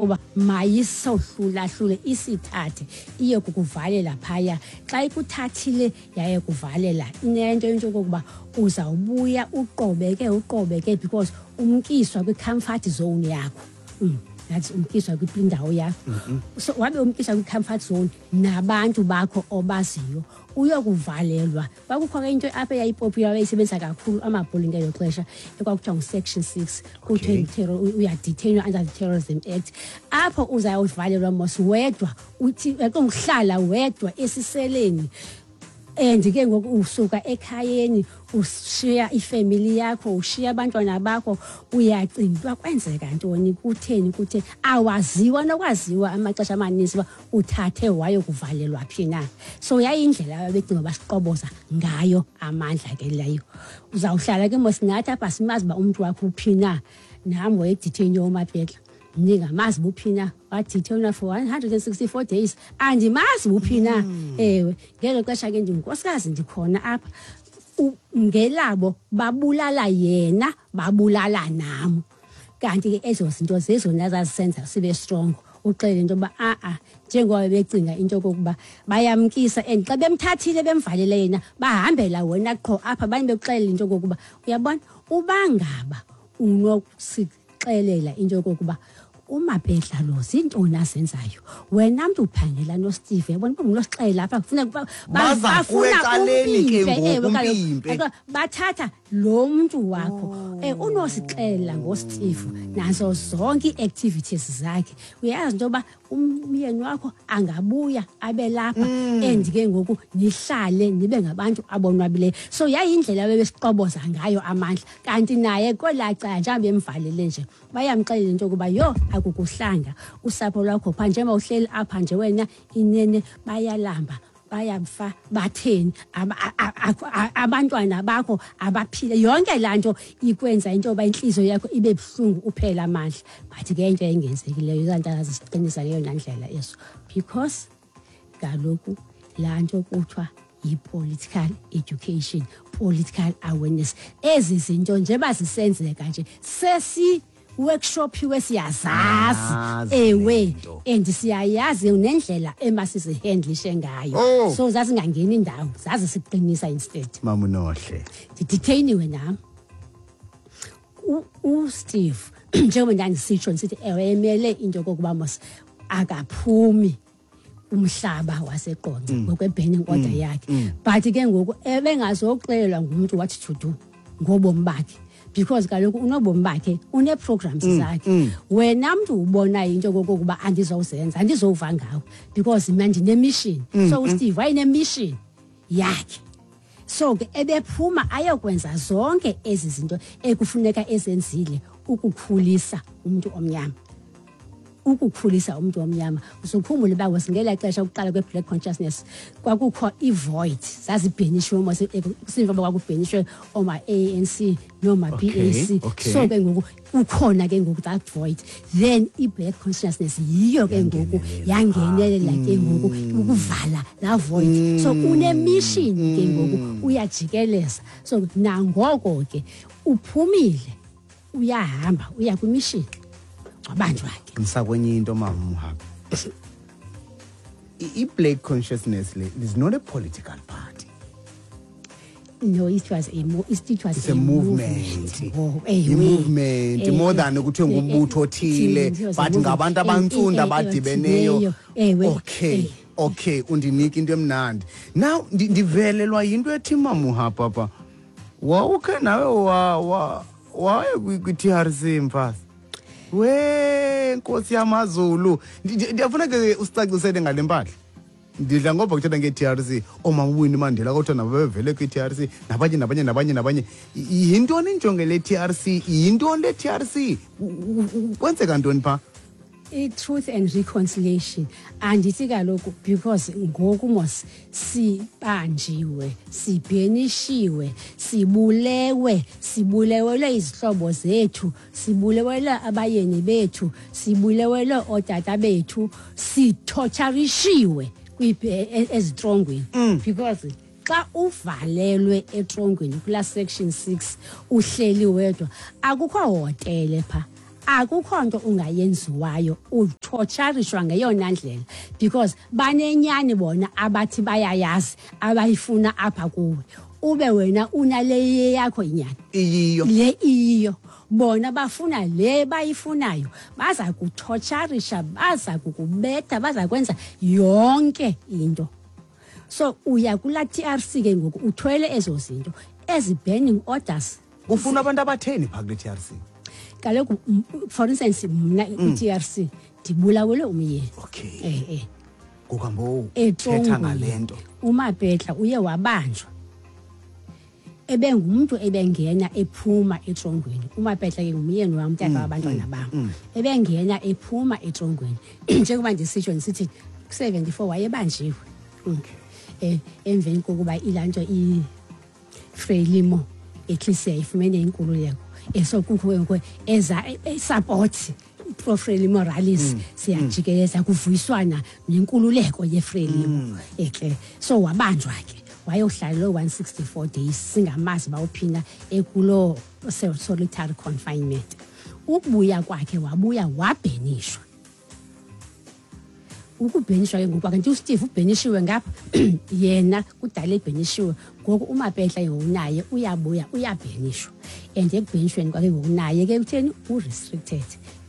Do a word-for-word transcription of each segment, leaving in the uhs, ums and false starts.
Uba mayisohlulahlule, isithathe iye kukuvalela phaya. Xa ikuthathile yaye kuvalela, inento into yokokuba uzawubuya uqobeke, uqobeke, because umkiswa kwi-comfort zone yakho. mm. That's umkiswa kwindawo yakho. So wabe umkiswa kwi-comfort zone nabantu bakho obaziyo, uyokuvalelwa. Kwakukho ke into apha eyayi-popular, yayisebenzisa kakhulu amabholi ngelo xesha, ekwakuthiwa ngu-section six, kuthiwe uya-detainwa under the Terrorism Act. Apho uzawuvalelwa mos wedwa, uthi uhlala wedwa esiseleni, and ke ngoku usuka ekhayeni, ushiya ifemili yakho, ushiya abantwana bakho, uyacinga uba kwenzeka ntoni, kutheni, kutheni, awaziwa nokwaziwa amaxesha amaninzi uba uthathe wayokuvalelwa phi na. So yayindlela abebecinga basiqoboza ngayo amandla ke leyo. Uzawuhlala ke mos nathi apha, simazi uba umntu wakho uphi na. Nam waye-detainwe uMapetla, ndingamazi buphi na. Wa-detainwa for one hundred and sixty-four days, andimazi buphi na. Ewe, ngelo xesha ke ndingunkosikazi, ndikhona apha. Ngelabo babulala yena, babulala nam. Kanti ke ezo zinto zezona zazisenza sibe strong, uxele into yoba a-a, njengoba becinga into yokokuba bayamkisa, and xa bemthathile bemvalele yena, bahambela wena qho apha, abanye bekuxelela into yokokuba uyabona, uba ngaba unokusixelela into yokokuba uMapetla lo zintoni azenzayo, wena mntu uphangela noSteve, yabona uba ngunosixelela apha, kufuneka Baza kuwe ecaleni ke umpimpe, ngoku, ewe, kaloku. umpimpe. Kaloku bathatha lo mntu wakho um unosixelela ngoSteve nazo zonke ii-activities zakhe, uyayazi into yoba umyeni wakho angabuya abe lapha, and ke ngoku nihlale nibe ngabantu abonwabileyo. So yayindlela bebesiqoboza ngayo amandla. Kanti naye kwelaa cala, njengoba bemvalele nje, bayamxelela into yokuba yho, akukuhlanga usapho lwakho phaa, njengoba uhleli apha nje wena, inene bayalamba, bayafa, batheni, aba- a- a- a- abantwana bakho abaphile. Yonke laa nto ikwenza into yoba intliziyo yakho ibe buhlungu, uphele amandla. But ke into engenzekileyo, ezaa nto zisiqinisa ngeyona ndlela eso, because kaloku laa nto kuthiwa yi-political education, political awareness, ezi zinto njengoba zisenzeka nje, sesi workshopiwe, siyazazi. Yazi Ewe. lento. And siyayazi nendlela emasizi-handlishe ngayo. Oh. So zazingangeni indawo, zazisiqinisa instead. Mama uNohle. Ndi-detainiwe nam. U- uSteve njengoba ndandisitsho ndisithi ewe, emele into yokokuba mos akaphumi umhlaba waseQonce ngokwe-banning order yakhe, but ke ngoku ebengazoxelelwa ngumntu what to do ngobomi bakhe, because kaloku unobomi bakhe, unee-programs zakhe. Wena mntu ubonayo into yokokuba andizowuzenza, andizowuva ngawe, because mna ndine-mission. So uSteve wayene-mission yakhe, so ke ebephuma ayokwenza zonke ezi zinto ekufuneka ezenzile ukukhulisa umntu omnyama, ukukhulisa umntu omnyama. Uzukhumbule uba ngelaa xesha ukuqala kwe-black consciousness kwakukho i-void, zazi-banishiwe mos, kusimva uba kwaku-banishwe ooma-A N C nooma-P A C. Okay, okay. So ke ngoku kukhona ke ngoku that void, then i-black consciousness yiyo ke ngoku yangenelela ke ngoku ukuvala laa void. So une-mission ke ngoku, uyajikeleza. So nangoko ke uphumile, uyahamba uya kwi-mission, wabanjwa ke. Ngisakwenye into, mama Muhabi. I- i-black consciousness le is not a political party. No, it was a mo it was It's a movement. Oh, ewe. I-movement Eh, more than kuthiwe eh, ngumbutho othile, it was a but movement. ngabantu abantsundu Eh, eh, abadibeneyo. Ewe. Okay. Eh. Okay, undinika into emnandi now. ndi- ndivelelwa yinto ethi, mamuha, papa, wawukhe nawe wa wa waye kwi-T R C, mfazi we nkosi yamazulu. Ndi- ndi- ndiyafuna ke usicacisele ngale mpahla. Ndidla ngoba kuthetha nge-T R C, oomama uWinnie Mandela kodwa nabo bevele kwi-T R C, nabanye nabanye nabanye nabanye. I- yintoni injongo le T R C? Yintoni le T R C? U- u- u- kwenzeka ntoni phaa? I-truth and reconciliation, andithi kaloku, because ngoku mos sibanjiwe, si-banishiwe, sibulewe, sibulewelwe izihlobo zethu, sibulewelwe abayeni bethu, sibulewelwe ootata bethu, si-torturishiwe kwi- ezitrongweni, because xa uvalelwe etrongweni kulaa section six, uhleli wedwa, akukho hotele phaa. Akukho nto ungayenziwayo, utorturishwa ngeyona ndlela because banenyani bona abathi bayayazi abayifuna apha kuwe, ube wena unale yakho inyani iyiyo le iyiyo. Bona bafuna le bayifunayo, baza kutorturisha, baza kukubetha, baza kwenza yonke into. So uya kula T R C ke ngoku uthwele ezo zinto, ezi banning orders. Kufuna abantu abatheni pha kule T R C? Kaloku, for instance, mna kwi T R C ndibulawele umyeni. Okay. Eh, eh. Ngokambo Etrongweni. thetha ngale nto. UMapetla uye wabanjwa. Ebengumntu ebengena ephuma etrongweni. UMapetla ke ngumyeni wam, tata Mm, wabantwana mm, bam. mm. Ebengena ephuma etrongweni. Njengoba ndisitsho ndisithi ku-seventy-four wayebanjiwe. Okay. Eh, emveni kokuba ilanto i-Frelimo at least yayifumene inkululeko. Eh, so kukho ke ngoku eza, eh, support pro Frelimo rallies, Mm, siyajikeleza kuvuyiswana nenkululeko yeFrelimo. Mm. Eh, ke so wabanjwa ke, wayohlala lo one sixty-four days singamazi bawuphina ekulo solitary confinement. Ukubuya kwakhe wabuya wabhenishwa. Ukubhenishwa ke ngoku kwakhe, nti uSteve ubhenishiwe ngapha, yena kudala ebhenishiwe. Ngoku uMapetla ke ngoku naye uyabuya uyabhenishwa. And ekubhenishweni kwakhe ngoku naye ke utheni, u-restricted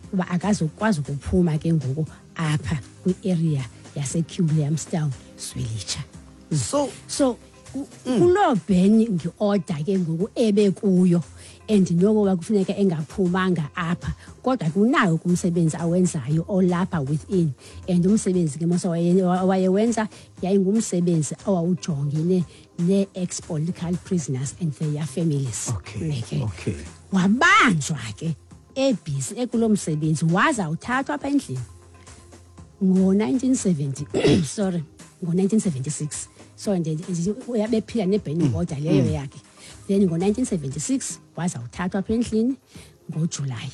kuba akazukwazi ukuphuma ke ngoku apha kwi-area yaseWilliamstown Zwelitsha. So, so ku-, kuloo banning order ke ngoku ebekuyo, and nokuba kufuneka engaphumanga apha, kodwa kunawo kumsebenzi awenzayo olapha within. And umsebenzi ke mos waye-, wayewenza yayingumsebenzi owawujongene nee-ex-political prisoners and their families. Okay, Okay. okay. Wabanjwa ke ebhizi ekulo msebenzi, waza uthathwa apha endlini ngo-nineteen seventy, sorry, ngo-nineteen seventy-six. So nje uyabephila ne-banning order leyo Mm. yakhe. Then ngo-nineteen seventy-six waza uthathwa apha endlini ngoJulayi,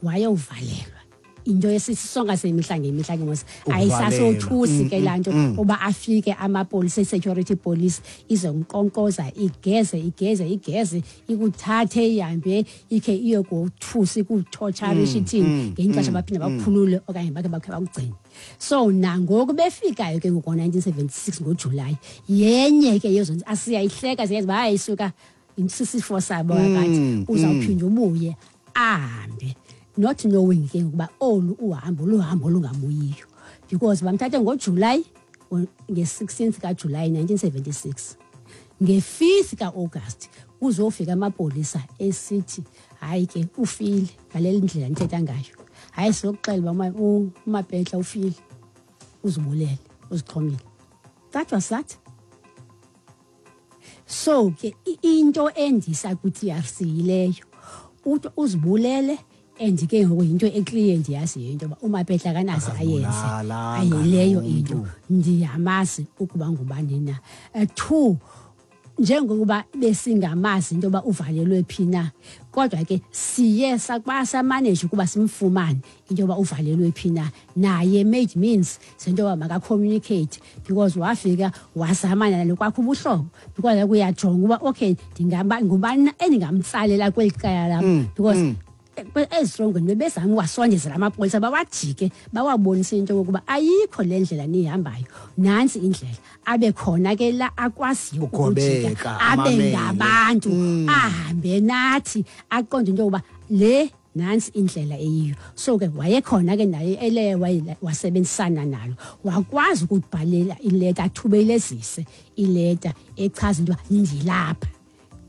wayovalelwa. Into esisonga semihla ngemihla ke mos, Ukuvalelwa. ayisasothusi ke Mm, laa nto mm, mm. uba afike amapolisa, i-security police izonkonkoza, igeze, igeze, igeze, ikuthathe ihambe ikhe iyokothusa, ikuthotsharishe Mm, ithini, mm, ngelinye ixesha mm, baphinde mm. bakukhulule okanye bakhe bakhe bakugcine. So nangoku befikayo ke ngoku ngo-nineteen seventy-six ngoJulayi, yenye ke yezo nto asiyayihleka, siyazi uba hayi suka sisifo sabo Mm, akathi mm. uzawuphinda ubuye ahambe, not knowing ke ukuba olu uhambo luhambo olungabuyiyo, because bamthathe ngoJulayi, nge-sixteenth kaJulayi nineteen seventy-six. Nge-fifth ka-August kuzofika amapolisa esithi hayi ke ufile ngale ndlela nithetha ngayo, hayi sizokuxela uba uma-, u-, uMapetla ufile, uzibulele, uzixhomile. That was that. So ke i-, into endisa kwi-T R C yileyo, uthi uzibulele. And ke ngoku yinto eclear ndiyaziyo into yoba uMapetla akanaze ayenze. Akazibulalanga Ayileyo loo into. mntu. Ndiyamazi ukuba ngubani na. Eh, two, njengokuba besingamazi into yoba uvalelwe phi na, kodwa ke siye sakuba samanage ukuba simfumane into yoba uvalelwe phi na. Naye made means sento yoba makacommunicate, because wafika wazamana nalo kwakho ubuhlobo, because uyajonga uba okay ndingaba ngubani na endingamtsalela kweli cala lam, Mm, because mm. ezirongweni bebezama uwasondezela amapolisa, bawajike bawabonise into yokokuba ayikho le ndlela niyihambayo, nantsi indlela. Abe khona ke la akwaziyo Ugobeka, ukujika, abe amamele. ngabantu, Mm. ahambe nathi aqonde into yokuba le nantsi indlela eyiyo. So ke wayekhona ke naye ele waye-, wasebenzisana nalo, wakwazi ukubhalela ileta, athubelezise ileta echaza into yoba ndilapha,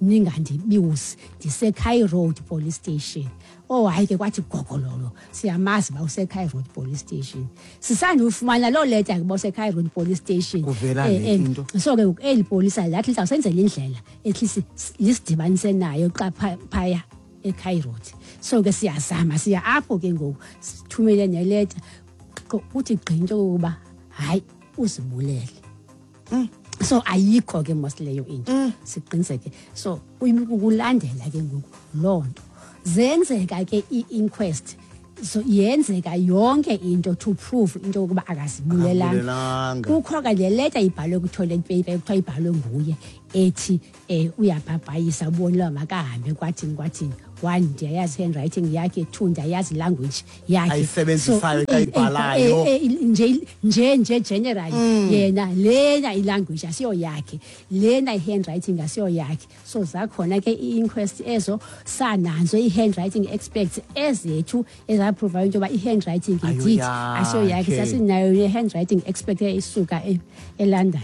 ningandibizi, ndiseKhai Road Police Station. Oh hayi ke kwathi gogololo, siyamazi uba useKhai Road Police Station. Sisandufumana loo leta ke uba useKhai Road Police Station. Kuvela Eh, le eh, into. So ke ngoku eli polisa lathi lizawusenzela indlela at least lisidibanise nayo xa pha-, phaya eKhai Road. So ke siyazama, siya apho ke ngoku, sithumele neleta, kuthi gqi into yokuba hayi uzibulele. Mm. So ayikho ke mos leyo into. Mm. Siqiniseke. So ukulandela ke ngoku loo nto. Zenzeka ke i-inquest. So yenzeka yonke into to prove into yokuba akazibulelanga. Akazibulelanga. Kukho ke le leta ibhalwe kwi-toilet paper ekuthiwa ibhalwe nguye ethi, eh, uyabhabhayisa ubonile uba makahambe kwathini kwathini. One, ndiyayazi handwriting yakhe. Two, ndiyayazi language yakhe Ayisebenzisayo xa ayibhalayo. eh, eh, nje nje nje generally yena lena ilanguage asiyo yakhe, lena i-handwriting asiyo yakhe. So zakhona ke i-inquest ezo, sananzo i-handwriting experts ezethu ezaprova into yoba i-handwriting Ayo indeed asiyo yakhe. yakhe. Sasinayo ne-handwriting expert eyayisuka e- eLondon.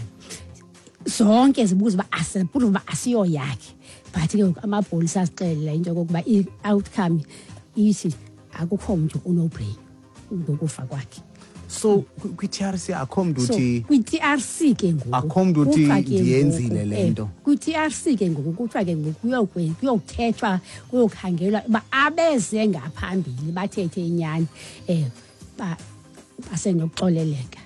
Zonke zibuza uba asiprove uba asiyo yakhe, but ke ngoku amapolisa asixelela into yokokuba i-outcome ithi akukho mntu unoblame ngokufa kwakhe. So kwi-T R C akho mntu So uthi kwi-T R C ke ngoku Akho mntu uthi kuthiwa ke ndiyenzile ngoku, le eh, nto. Kwi-T R C ke ngoku kuthiwa ke ngoku kuyokwe- kuyokuthethwa, kuyokhangelwa uba abeze ngaphambili bathethe inyani, um basenokuxoleleka.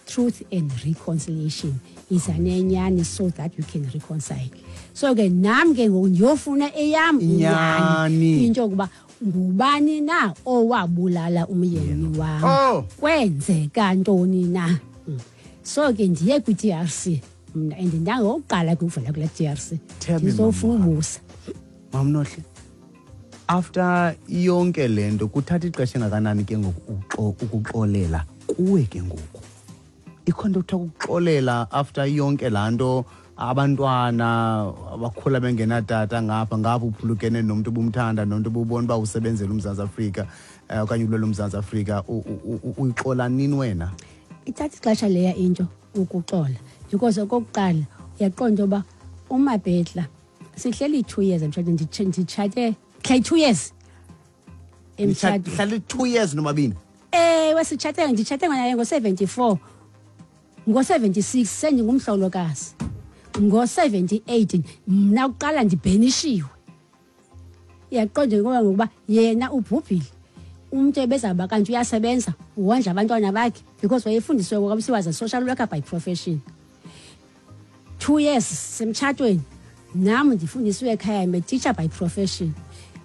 Truth and reconciliation, iza nenyani so that you can reconcile. So ke nam ke ngoku ndiyofuna eyam Inyani. into yokuba ngubani na owabulala umyeni wam, Oh. kwenzeka ntoni na. Mm. so ke ndiye kwi-T R C mna and ndangokuqala ke ukuvela kula T R C. Tell me, ndizofuna Mama. ubusa. Mamnohle, after yonke le nto, kuthatha ixesha engakanani ke ngoku uxo- ukuxolela kuwe ke ngoku? Ikho nto kuthiwa ukuxolela after yonke laa nto, abantwana abakhula bengenatata, ngapha ngapha uphulukene nomntu obumthanda, nomntu obubona uba usebenzela uMzantsi Afrika, um okanye ulwela uMzantsi Afrika, u- u- u- uyixola nini wena? Ithatha ixesha leya into ukuxola, because okokuqala uyaqonda uba uMabhedla sihleli two years emtshatweni. Nditshe- nditshate hleli two years emtshatweni. Hlale two years nomabini? Ewe, sitshate, nditshate naye ngo-seventy-four, ngo-seventy-six sendingumhlolokazi, ngo-seventy-eight mna kuqala ndibhenishiwe. Uyaqonda ngoba ngokuba yena ubhubhile, umntu ebezawuba kanti uyasebenza, wondla abantwana bakhe, because wayefundisiwe ngoba was a social worker by profession. Two years semtshatweni, nam ndifundisiwe ekhaya, I'm a teacher by profession,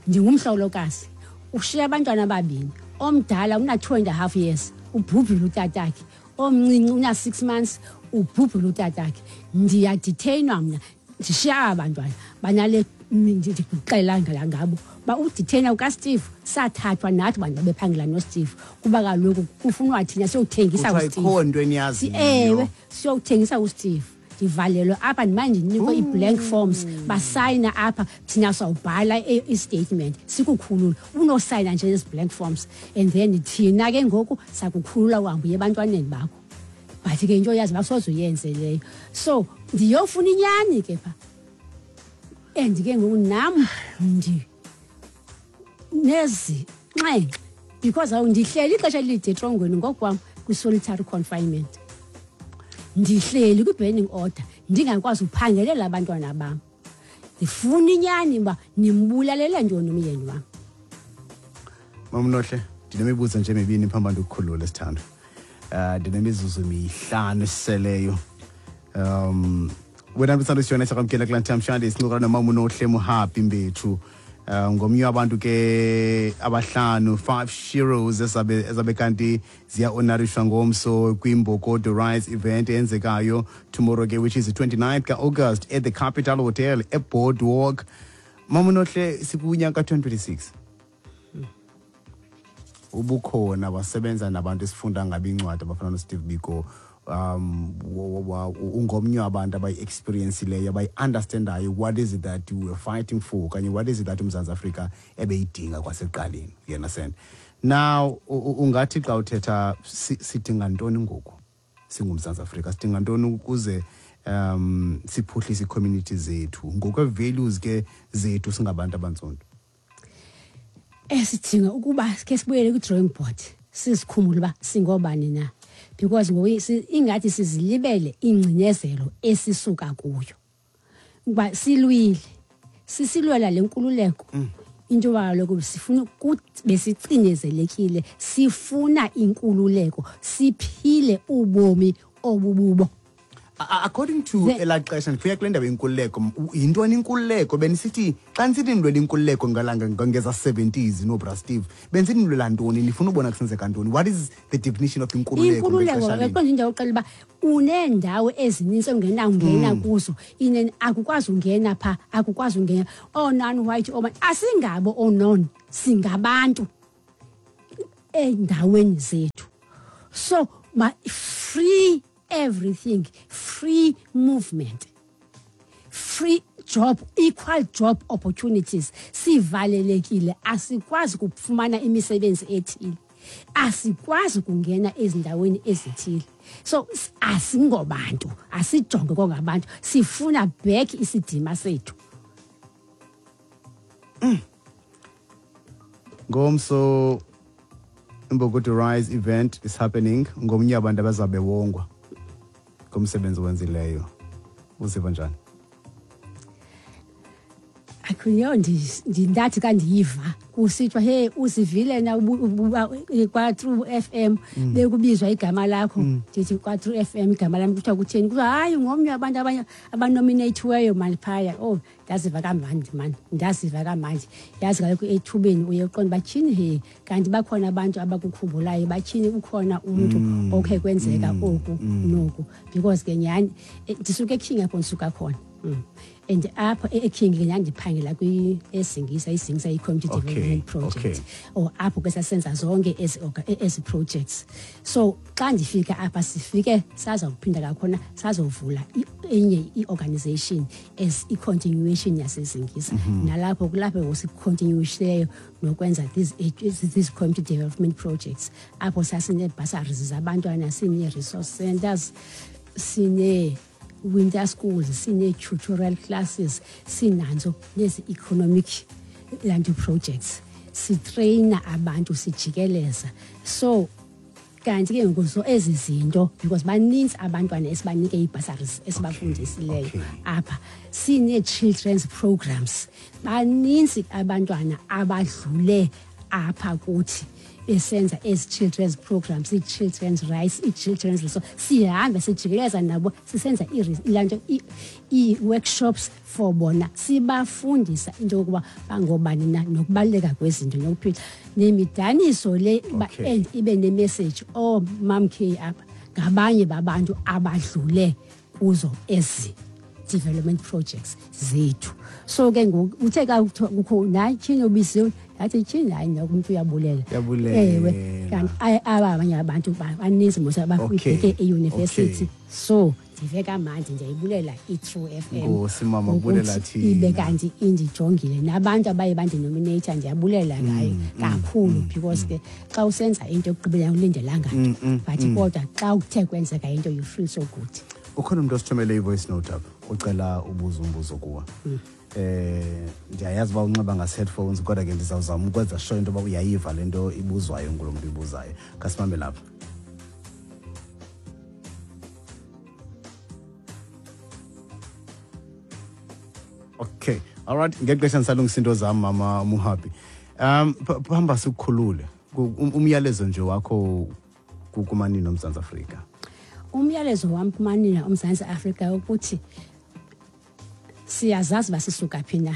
ndingumhlolokazi, ushiya abantwana ababini. Omdala una two and a half years, ubhubhile utatakhe. Omncinci una six months, ubhubhile utatakhe. Ndiyadetainwa mna, ndishiya aba bantwana banale, ndikuxelela ngabo uba udetaina kukaSteve. Sathathwa nathi bantu babephangela noSteve, kuba kaloku kufunwa thina siyokuthengisa Kuthiwa uSteve. ikho nto eniyaziyo. Ewe, siyokuthengisa uSteve. Ndivalelwe apha, ndimane ndinikwe ii-blank forms, basayina apha, thina sawubhala i- i-statement sikukhulula. Unosayina nje ezi blank forms and then thina ke ngoku sakukhulula, uhambe uye ebantwaneni bakho. But ke into yazi basoze uyenze leyo. So ndiyofuna inyani ke phaa, and ke ngoku nam ndi nezinxenxe because awu ndihleli ixesha elide etrongweni ngokwam, kwi-solitary confinement, ndihleli kwi-banning order, ndingakwazi uphangelela abantwana bam. Ndifuna inyani uba nimbulalele ntoni umyeni wam. Mamnohle, ndinemibuzo nje emibini phambi ndikukhulule, sithando. um ndinemizuzu mihlanu esiseleyo. um wena msando siyona sakwamkela kulaa namhlanje, sincokola nomama uNohle Muhapi Mbethu, um ngomnye wabantu ke abahlanu, five sheroes ezabe ezabe kanti ziya-honorishwa ngomso kwiMbokodo Rise event eyenzekayo tomorrow ke, which is the twenty-ninth ka-August at the Capital Hotel eBoardwalk. Mama uNohle, sikunyaka twenty twenty-six, ubukhona wasebenza nabantu esifunda ngabo incwadi abafana noSteve Biko, um wa- wa- ungomnye wabantu abayi-experienceyileyo, abayi-understandayo what is it that we were fighting for, okanye what is it that uMzantsi Afrika ebeyidinga kwasekuqaleni, you understand? Now u- u- ungathi xa uthetha, si- sidinga ntoni ngoku singuMzantsi Afrika? Sidinga ntoni ukuze um siphuhlise ii-community zethu ngokwe-values ke zethu singabantu abantsundu? Esidinga ukuba ke sibuyele kwi-drawing board, sizikhumule uba singobani na, because ngoku si- ingathi sizilibele ingcinezelo esisuka kuyo, ukuba silwile, sisilwela le nkululeko, into yoba kaloku sifuna ukuthi besicinezelekile, sifuna inkululeko, siphile ubomi obububo. According to elaa xesha ndifika kule ndaba inkululeko, yintoni inkululeko? Benisithi xa nisithi nilwela inkululeko ngeza seventies noBra Steve, benisithi nilwela ntoni? Nifuna ubona kusenzeka ntoni? What is the definition of inkululeko? Inkululeko eqonda indawo uxela uba uneendawo ezininzi ongenawungena kuzo, inene akukwazi ungena phaa, akukwazi ungena oo-non-white oomani. Asingabo oo-non, singabantu endaweni zethu. So ma free everything, free movement, free job, equal job opportunities. Sivalelekile, asikwazi ukufumana imisebenzi ethile, asikwazi kungena ezindaweni ezithile. So asingobantu, asijonge kongabantu, sifuna back isidima sethu. Mm. Ngomso Imbokodo Rise event is happening. Ngomnye abantu abazabe wongwa ngomsebenzi owenzileyo. Uziva njani? Akhuyo ndathi xa ndiyiva kusithiwa hey uzivile na kwa True F M bekubizwa igama lakho, ndithi kwa True F M igama lam kuthiwa kutheni? Kuthiwa hayi ngomnye wabantu abanye abanominathiweyo mani phaya. Oh, ndaziva kamandi mani, ndaziva kamandi. Yazi kaloku ethubeni uye uqonda uba tyhini he kanti bakhona abantu abakukhumbulayo, batyhini ukhona umntu okhe kwenzeka oku noku. Because ke nyhani ndisuke eKing apho ndisuka khona. Mm. And apho eKing ke ndandiphangela kwi-eSingisa, iSingisa i-community development project. Okay. Or apho ke sasenza zonke ezi ezi projects. So xa ndifika apha sifike sazawuphinda kakhona sazovula enye i-organization as i-continuation yaseSingisa. Mm-hmm. Nalapho kulapho ngosi-continuishileyo nokwenza these these community development projects. Apho sasinee-bursaries zabantwana, sinee-resource centers, sine winter schools, sine-tutorial classes, sinanzo nezi-economic lanto projects. Sitreyina abantu, sijikeleza. So kanti ke ngoku so ezi zinto because baninzi abantwana esibanike ii-bursaries esibafundisileyo okay. apha. Sinee-children's programs, baninzi abantwana abadlule apha kuthi besenza ezi children's programs, ii-children's rights, ii-children's. So sihambe sijikeleza nabo sisenza ilanto ii-workshops for bona, sibafundisa into yokuba bangobani na nokubaluleka kwezinto nokuphila nemidaniso le uba and ibe nemessage. Oh Mam K apha ngabanye babantu abadlule kuzo ezi development projects zethu. So ke ngoku uthe xa kukho natyhini obisiwe ndathi tyhini hayi noko umntu uyabulela. Ewe, kanti aba abanye abantu baninzi mos abafike eyunivesithi. So ndive kamandi, ndiyayibulela i-True F M. Nkosi mama, bulela thina. Ibe kanti indijongile nabantu abaye bandinominate, ndiyabulela ngayo kakhulu because ke xa usenza into ekugqibeleni ulindelanga nto, but kodwa xa kuthe kwenzeka into you feel so good. Ukhona umuntu osithumele i-voice note apha ucela ubuza umbuzo kuwa. Eh ndiyayazi uba unxiba ngase-headphones kodwa ke ndizawuzama ukwenza sure into yoba uyayiva le nto ibuzwayo ngulo mntu ibuzayo. Khasimambe lapha. Okay, all right, ngexesha ndisalungisa into zam mama Muhabi. Um hamba sikukhulule. Umyalezo nje wakho kumanina oMzantsi Afrika. Umyalezo wam kumanina oMzantsi Afrika ukuthi siyazazi uba sisuka phi na,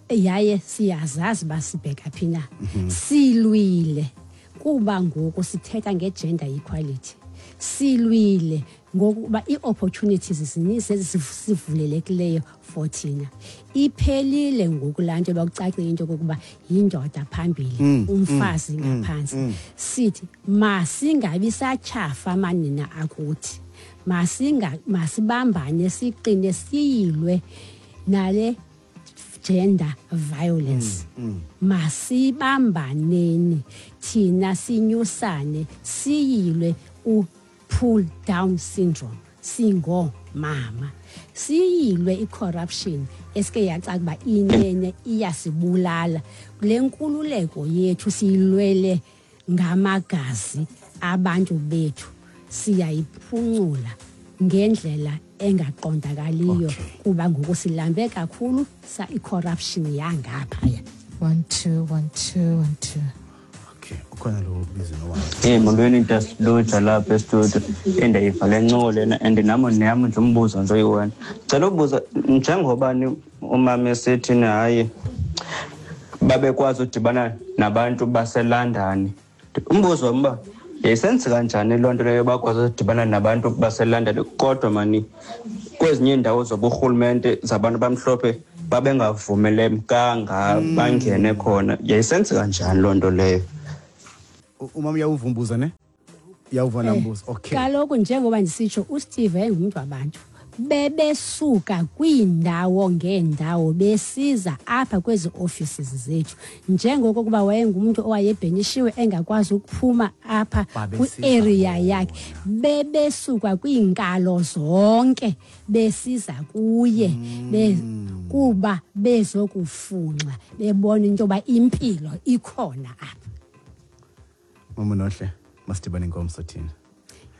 yaye siyazazi uba sibheka phi na. Silwile kuba ngoku sithetha nge-gender equality. Silwile ngokuba ii-opportunities zininzi ezisivulelekileyo for thina. Iphelile ngoku laa nto yoba kucace into yokokuba yindoda phambili, umfazi ngaphantsi. Sithi masingabi satyhafa manina akuthi, masinga masibambane siqine siyilwe nale gender violence. Masibambaneni thina sinyusane siyilwe u-pull down syndrome singomama, siyilwe i-corruption esike yacaca uba inene iyasibulala. Le nkululeko yethu siyilwele ngamagazi abantu bethu, siyayiphuncula ngendlela engaqondakaliyo kuba ngoku silambe kakhulu sa i-corruption yangaphaya. One two one two one two. Okay, ukhona lo bizo nowakhe. Hey, molweni Ntasluja lapha estudio. Endayiva le ncoko lena and nami neyam nje umbuzo nje oyi-one. Ndicela ubuza njengoba ni umama esithi hayi babekwazi udibana nabantu baseLondon. Umbuzo wam uba yayisenzeka kanjani loo nto leyo bakwazi udibana nabantu baseLondon kodwa mani kwezinye iindawo zoburhulumente zabantu abamhlophe babengavumelekanga bangene khona. Yayisenzeka kanjani loo nto leyo? Umama uyawuvumbuza ne? Uyawuva nambuzo. Okay. Kaloku njengoba ndisitsho uSteve engumntu wabantu. Bebesuka kwiindawo ngeendawo besiza apha kwezi offices zethu. Njengoko kuba wayengumntu owayebhenishiwe engakwazi ukuphuma apha kwi-area yakhe, bebesuka kwiinkalo zonke besiza kuye be kuba bezokufunxa bebona into yoba impilo ikhona apha. Mama Nohle, masidibane ngomso thina.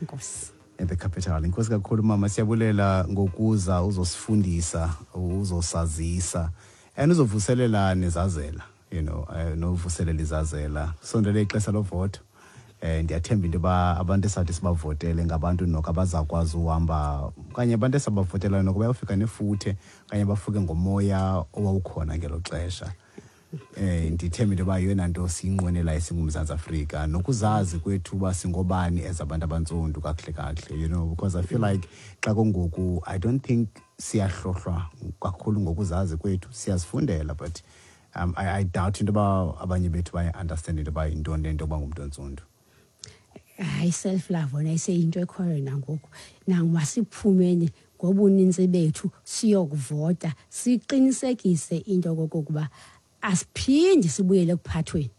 Inkosi. At the capital. Inkosi kakhulu mama, siyabulela ngokuza uzosifundisa, uzosazisa and uzovuselela nezazela, you know, novuselela izazela. Sondele ixesha lovoto. Eh ndiyathemba into ba abantu esathi sibavotele ngabantu noko abazakwazi uhamba okanye abantu esabavotelayo noko bayofika nefuthe okanye bafuke ngomoya owawukhona ngelo xesha. Eh ndithemba into ba yona nto siyinqwenela singumzantsi Afrika nokuzazi kwethu uba singobani as abantu abantsundu kakuhle kakuhle, you know, because I feel like xa kungoku I don't think siyahlohlwa kakhulu ngokuzazi kwethu, siyazifundela but um, I, I doubt into ba abanye bethu baye understand into ba yintoni le nto yokuba ngumntu ontsundu. Hayi, self love wona iseyinto ekhoyo nangoku. Nangumasiphumeni ngobunintsi bethu siyokuvota siqinisekise into okokuba asiphindi sibuyele ekuphathweni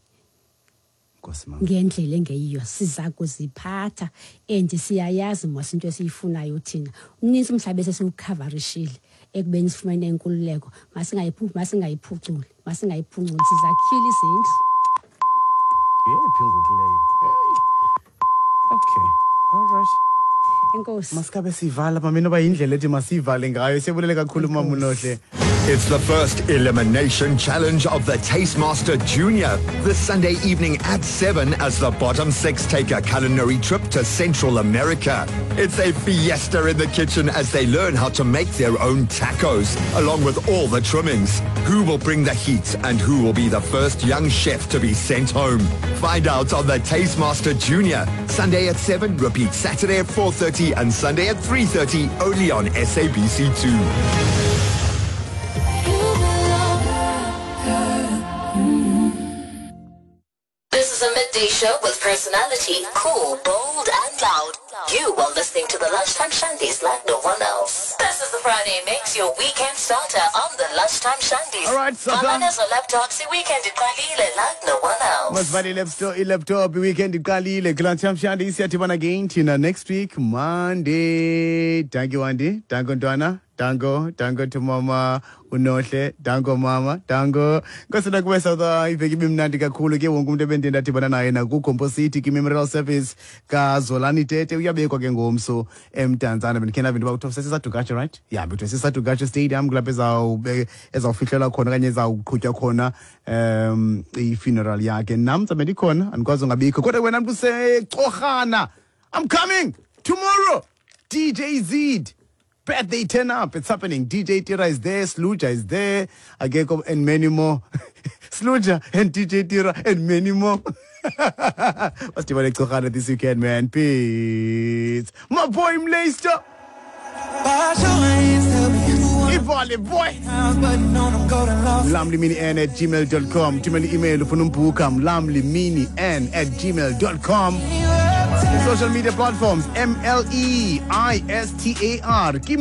ngendlela engeyiyo. Siza kuziphatha and siyayazi mos into esiyifunayo thina. Umnintsi umhlaba esesiwukhavarishile ekubeni sifumene inkululeko, masingayiphu masingayiphuculi masingayiphunculi sizakhile izindlu. Yeyiphi ngoku leyo? Okay, all right. Enkosi. Masikabe sivala mama, inoba yindlela ethi masivale ngayo. Siyabulele kakhulu mama Nohle. It's the first elimination challenge of the Taste Master Junior this Sunday evening at seven as the bottom six take a culinary trip to Central America. It's a fiesta in the kitchen as they learn how to make their own tacos, along with all the trimmings. Who will bring the heat and who will be the first young chef to be sent home? Find out on the Taste Master Junior, Sunday at seven, repeat Saturday at four thirty and Sunday at three thirty, only on S A B C two. Show with personality, cool, bold, and loud. You are listening to the Lunchtime Shandies like no one else. This is the Friday Mix, your weekend starter on the Lunchtime Shandies. All right, so laptops, weekend iqalile like no one else. Masivale laptop, laptop weekend iqalile. Lunchtime Shandies siyadibana again thina next week Monday. Thank you Andy, thank you Ntwana. Dango, dango to mama uNohle, dango mama, dango. Nkosi nakuwe South iveki ibimnandi kakhulu ke wonke umuntu ebendende ndadibana naye nakuGompo City ki-Memorial Service kaZolani Tete uyabekwa ke ngomso eMdantsane. Bendikhe ndava into yoba kuthiwa seSadugatshe, right? Yeah, kuthiwa seSadugatshe Stadium kulapho ezawube ezawufihlelwa khona okanye ezawuqhutywa khona um i-funeral yakhe. Nam ndizabe ndikhona, andikwazi ungabikho. Kodwa wena mntu useCorhana, I'm coming tomorrow. D J Z. Birthday turn up. It's happening. D J Tira is there. Sluja is there. Ageko and many more. Sluja and D J Tira and many more. What's this weekend, man? Peace. My boy Mleister. Ivale boy. Mlamli mini n at gmail dot com. Tumeli email ufunumbuka mlamli mini n at gmail dot com. Social media platforms M L E I S T A R. Kim